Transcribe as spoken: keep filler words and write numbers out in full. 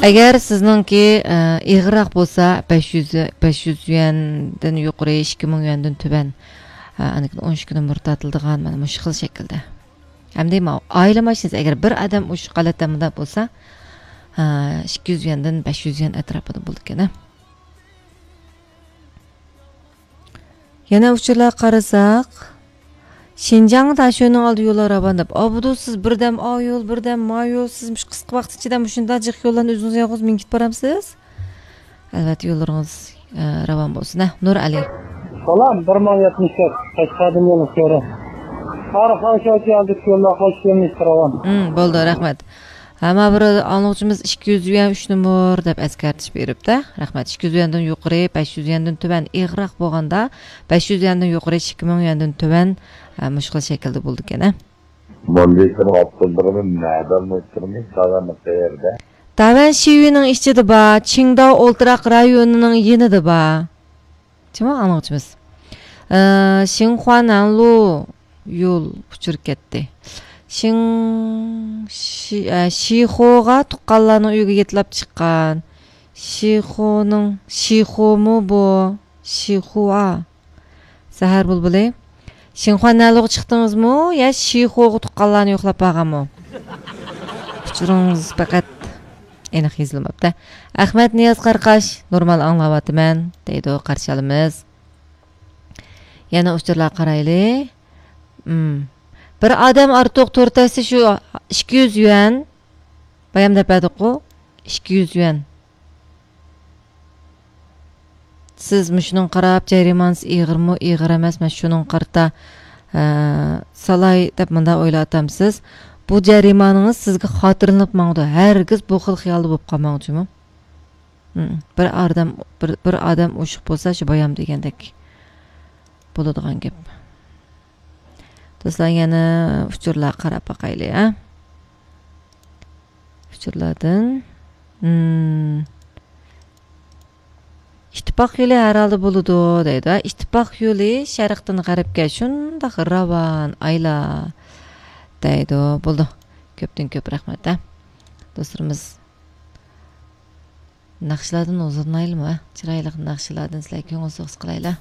ئەگەر سىزنىڭكى، ئە، ئېغىرراق بولسا، بەش يۈز، بەش يۈز يۈەندىن يۇقىرى، ئىككى مىڭ يۈەندىن تۆۋەن، ئە، ئاندىن كېيىن ئون ئىككى نومۇر تارتىلىدىغان، مانا مۇشۇ خىل شەكىلدە. ھەمدە ماۋۇ ئائىلە ماشىنىسى، ئەگەر بىر ئادەم ئۇشۇ ھالەتتە مۇنداق بولسا، ئە، ئىككى يۈز يۈەندىن بەش يۈز يۈەن ئەتراپىدا بولىدىكەن. يەنە ئۇچۇرلارغا قارىساق، شىنجاڭ تاشيولىنىڭ ئالدى يوللار راۋان دەپ، ئابدۇ سىز بىردەم ئا يول، بىردەم ما يول، سىز مۇشۇ قىسقا ۋاقىت ئىچىدە مۇشۇنداق جىق يوللارنى ئۆزىڭىز يالغۇز مېڭىپ بارامسىز؟ ئەلۋەتتە يوللىرىڭىز، ئە، راۋان بولسۇن، ھە، نۇر ئەلى. سالام، بىر مىڭ يەتمىش تۆت، قەشقەردىن يولۇق كۆرە. تارىخ ئاشۇ يوللار قايسى يولنى راۋان؟ ھىم، بولدى، رەھمەت. ھە، مانا بىر ئاڭلىغۇچىمىز ئىككى يۈز يۈەن ئۈچ نومۇر دەپ ئەسكەرتىش بېرىپتۇ. رەھمەت. ئىككى يۈز يۈەندىن يۇقىرى، بەش يۈز يۈەندىن تۆۋەن، ئېغىرراق بولغاندا بەش يۈز يۈەندىن يۇقىرى، ئىككى مىڭ يۈەندىن تۆۋەن، ھە، مۇشۇ خىل شەكىلدە بولىدىكەن، ھە. مۇندىكىن ئاپتوبۇسنى نەدىن ئۆتكۈزىمىز؟ داۋامى قەيەردە؟ داۋەن شىۋىنىڭ ئىچىدە بار، چىڭداۋ ئولتۇراق رايونىنىڭ يېنىدا بار. جۇمۇ ئاڭلىغۇچىمىز. ئە، شىنخۇا نەنلۇ يول ئۇچۇرۇپ كەتتى. شىڭ، شى-، ئە، شىخوغا تۇغقانلارنىڭ ئۆيىگە يېتىلاپ چىققان. شىخونىڭ، شىخومۇ بۇ؟ شىخۇا. سەھەر بۇلبۇلى. شىنخۇا نەنلۇغا چىقتىڭىزمۇ يا شىخوغا تۇغقانلارنى يوقلاپ بارغانمۇ؟ ئۇچۇرىڭىز پەقەت ئېنىق يېزىلماپتۇ. ئەخمەت نىياز قاراقاش، نورمال ئاڭلاۋاتىمەن، دەيدۇ، قارشى ئالىمىز. يەنە ئۇچۇرلارغا قارايلى. مم. بىر ئادەم ئارتۇق تور تەستە شۇ ئىككى يۈز يۈەن. بايام دەپ بەردۇققۇ، ئىككى يۈز يۈەن. سىز مۇشۇنىڭغا قاراپ، جەرىمانىسى ئېغىرمۇ، ئېغىر ئەمەسمۇ، شۇنىڭغا قارىتا، ئە، سالاي دەپ مۇنداق ئويلاۋاتامسىز؟ بۇ جەرىمانىڭىز سىزگە خاتىرىلىنىپ ماڭىدۇ. ھەرگىز بۇ خىل خىيالدا بولۇپ قالماڭ جۇمۇ. ھىم، بىر ئادەم، بىر، بىر ئادەم ئوشۇق بولسا، شۇ بايام دېگەندەك بولىدىغان گەپ. دوستلار، يەنە ئۇچۇرلارغا قاراپ باقايلى، ھە؟ ئۇچۇرلاردىن. ھىم. ئىتتىپاق يولى ھەر ھالدا بولىدۇ، دەيدۇ. ئىتتىپاق يولى شەرقتىن غەربكە شۇنداق راۋان، ئايلا، دەيدۇ. بولدى. كۆپتىن كۆپ رەھمەت، ھە. دوستلىرىمىز. ناخشىلاردىن ھۇزۇرلىنايلىمۇ، ھە؟ چىرايلىق ناخشىلاردىن سىلەرگە كۆڭۈل سوغۇسى قىلايلى.